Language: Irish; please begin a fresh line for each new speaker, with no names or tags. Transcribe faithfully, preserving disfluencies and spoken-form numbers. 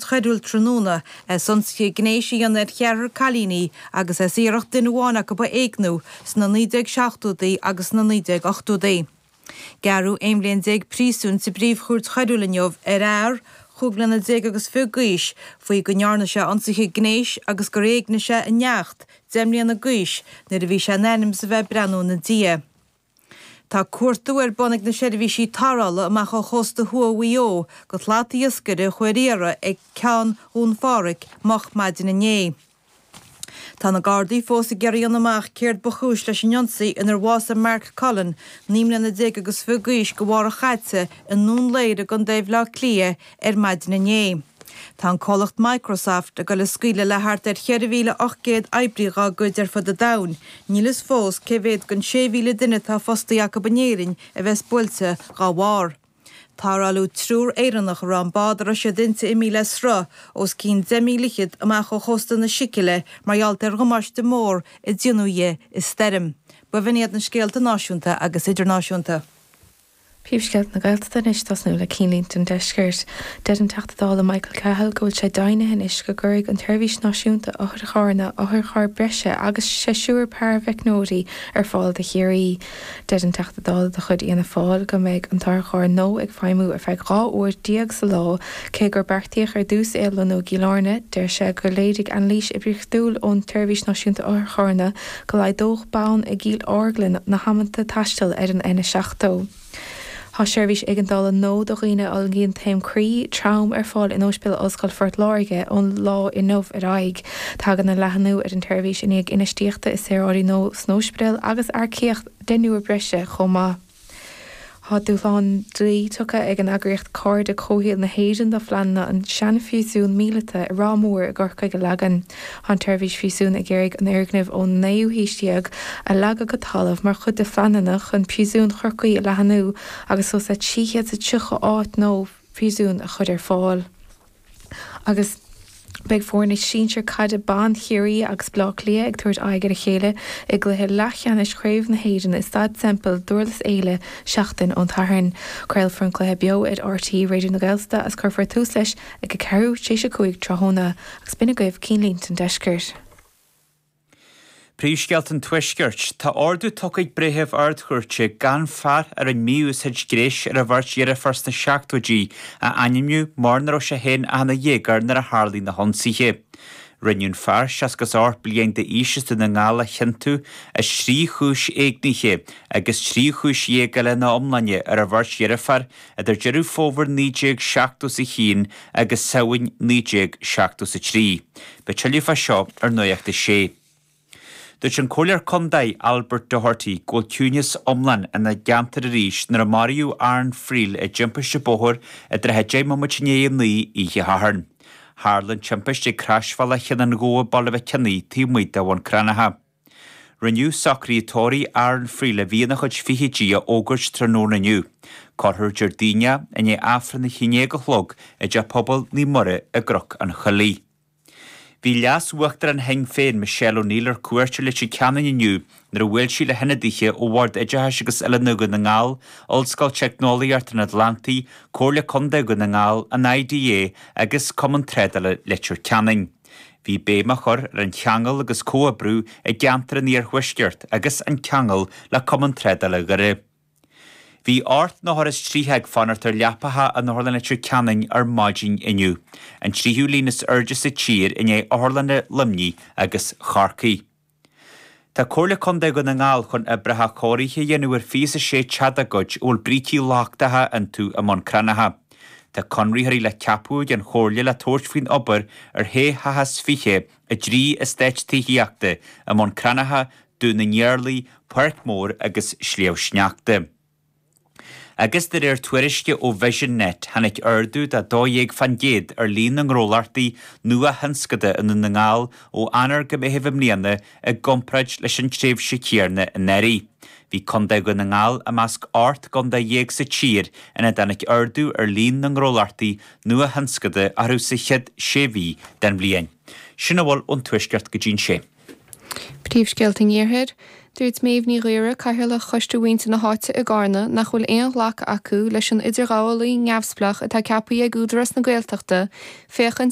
Phríomhchúirt Choiriúil tráthnóna as ionsaithe gnéis a dhéanamh ar cheathrar cailíní agus as iarracht duine amháin acu a éigniú sna naoi déag seachtóidí agus sna naoi déag ochtóidí. Gearradh aon bhliain déag príosúin sa bPríomhchúirt Choiriúil inniu ar fhear chúig bliana déag agus fiche d'aois faoi go ndearna sé ionsaithe gnéis agus gur éignigh sé a neacht deich mbliana d'aois nuair a bhí sé in ainm is a bheith ag breathnú ina diaidh. Tá cuartú ar bun ag na seirbhísí tarrthála amach ó chósta thuaidh Mhaigh Eo do shlat iascaire a chuaigh ar iarraidh ag Ceann Dhún Phádraig moch maidin inné. Tá na Gardaí fós ag iarraidh a dhéanamh amach céard ba chúis leis an ionsaí inar bhásaigh Mark Cullen, naoi mbliana déag agus fiche d'aois, go mhárach chaite i nDún Laoghaire i gContae Bhaile Átha Cliath ar maidin inné. Tá an comhlacht Microsoft ag dul a scaoileadh le thart ar cheithre mhíle ocht gcéad oibrí dhá gcuid ar fud an domhain. Níl fhios fós cé mhéad den sé mhíle duine atá fostaí acu in Éirinn a bheas buailte dhá bharr. Tarrtháladh triúr Éireannach a raibh an bád a raibh siad inti imithe le sruth os cionn deich míle fhichead amach ó chósta na Sicile mar gheall ar dhamáiste mór a déanadh di i stoirm. B'in iad na scéalta náisiúnta agus idirnáisiúnta.
Príomhscéalta na Gaeltachta anois tosnú le cinnlínte an deiscirt. Deir an Teachta Dála Michael Cahill go bhfuil sé deimhnithe anois go gcuirfidh an tSeirbhís Náisiúnta Otharcharranna otharcharr breise agus seisiúr paraimheicneoirí ar fáil do Chiarraí. Deir an Teachta Dála de chuid Fhianna Fáil go mbeidh an t-otharcharr nua ag feidhmiú ar feadh dhá uair déag sa lá, cé gur beartaíodh ar dtús é a lonnú i gCill Airne. Deir sé gur léirigh anailís oibríochtúil ón tSeirbhís Náisiúnta Otharcharranna go laghdódh bonn i gCill Orglan na hamanta taistil ar an N seachtó. Tá seirbhís éigeandála nua do dhaoine a fhulaingíonn taom croí trom ar fáil in Ospidéal Ollscoile Phort Láirge ón lá inniu ar aghaidh. Tagann an leathnú ar an tseirbhís i ndiaidh infheistíochta i saoráidí nua san ospidéal agus earcaíocht deichniúr breise chomh maith. Tá dúshlán dlí tugtha ag an eagraíocht Cairde Comhshaoil na hÉireann do phleananna an seanphríosún míleata i Ráth Mór i gCorcaigh a leagan. Tá an tseirbhís phríosún ag iarraidh an fhoirgneamh ón naoú haois déag a leagadh go talamh mar chuid de phleananna chun príosún Chorcaí a leathnú agus suas le trí chéad is tríocha áit nua phríosúin a chur ar fáil. Agus beidh foirne sinsir caide ban Chiarraí agus Baile Átha Cliath ag tabhairt aghaidh ar a chéile i gcluiche leathcheannais Chraobh na hÉireann i Staid Semple Durlas Éile seachtain ón Satharn. Craolfar an cluiche beo ar RTÉ Raidió na Gaeltachta agus cuirfear tús leis ag a ceathrú tar éis a cúig tráthnóna agus b'in agaibh cinnlínte an deiscirt.
Príomhscéalta an Tuaiscirt, Tá ordú tugtha ag breitheamh Ard-Chúirte gan fear a rinne mí-úsáid ghnéis ar a bheirt dheirfiúr sna seachtóidí a ainmniú mar nach raibh sé féin ach ina dhéagóir nuair a tharlaigh na hionsaithe. Rinneadh an fear seasca is ocht bliain d'aois as Dún na nGall a chiontú as trí chúis éignithe agus trí chúis dhéag eile ina iomláine ar a bheirt dheirfiúr idir Deireadh Fómhair naoi déag seachtó is a haon agus Samhain naoi déag seachtó is a trí. Beidh tuilleadh fá seo ar Nuacht a Sé. Dúirt an Comhairleoir Contae Albert Doherty go bhfuil ciúnas iomlán ina gceantar arís nuair a maraíodh Aaron Friel i dtimpiste bóthair i dtrátha deich mbomaite i ndiaidh a naoi oíche Shathairn. Tharla an timpiste ag croisbhealach Cheann an Ghabha Baile Mhic Cionnaith taobh amuigh de Bhun Cranncha. Rinneadh socruithe tórraimh Aaron Friel a bhí ina chuid fichidí a fhógairt tráthnóna inniu. Cuirfear Déardaoin é i ndiaidh Aifreann a haon déag a chlog i dTeach Pobail Naomh Muire i gCnoc an Choiligh. Bhí leas-uachtarán Shinn Féin Michelle O'Neill ar cuairt ar Leitir Ceanainn inniu nuair a bhuail sí le hionadaithe ó Bhord Oideachais agus Oiliúna Dhún na nGall, Ollscoil Teicneolaíocht an Atlantaigh, Comhairle Contae Dhún na nGall, an IDA agus Cumann Trádála Leitir Ceanainn. Bhí béim á chur ar an cheangal agus comhoibriú i gceantar an Iarthuaiscirt agus an ceangal le Cumann Trádála Dhoire. Bhí ocht n-othar is tríocha ag fanacht ar leapacha in Otharlann Leitir Ceanainn ar maidin inniu, an tríú líon is airde sa tír i ndiaidh Otharlanna Luimnigh agus Chorcaí. Tá Comhairle Contae Dhún na nGall chun oibreacha cóirithe a dhéanamh ar fiche is a sé teach dá gcuid a bhfuil brící lochtacha iontu i mBun Cranncha. Tá conraitheoirí le ceapadh ag an Chomhairle le tabhairt faoin obair ar shé theach is fiche i dtrí eastát tithíochta i mBun Cranncha, Dún na nIarlaí, Páirc Mhór agus Sliabh Sneachta. Agus de réir tuairisce ó Vision Net, tháinig ardú de dó dhéag faoin gcéad ar líon na ngnólachtaí nua-thionscanta i nDún na nGall ó Eanáir go Meitheamh i mbliana i gcomparáid leis an tréimhse chéanna anuraidh. Bhí Contae Dhún na nGall i measc ocht gcontae dhéag sa tír ina dtáinig ardú ar líon na ngnólachtaí nua-thionscanta orthu sa chéad sé mhí den bhliain. Sin a bhfuil ón Tuaisceart go dtí sé.
Príomhscéalta an Iarthair, Dúirt Méabh Ní Ghaora Cathaoirleach Choiste Mhuintir na hÁite i gCarna nach bhfuil aon ghlacadh acu leis an idirghabhálaí neamhspleách atá ceaptha ag Údarás na Gaeltachta féachaint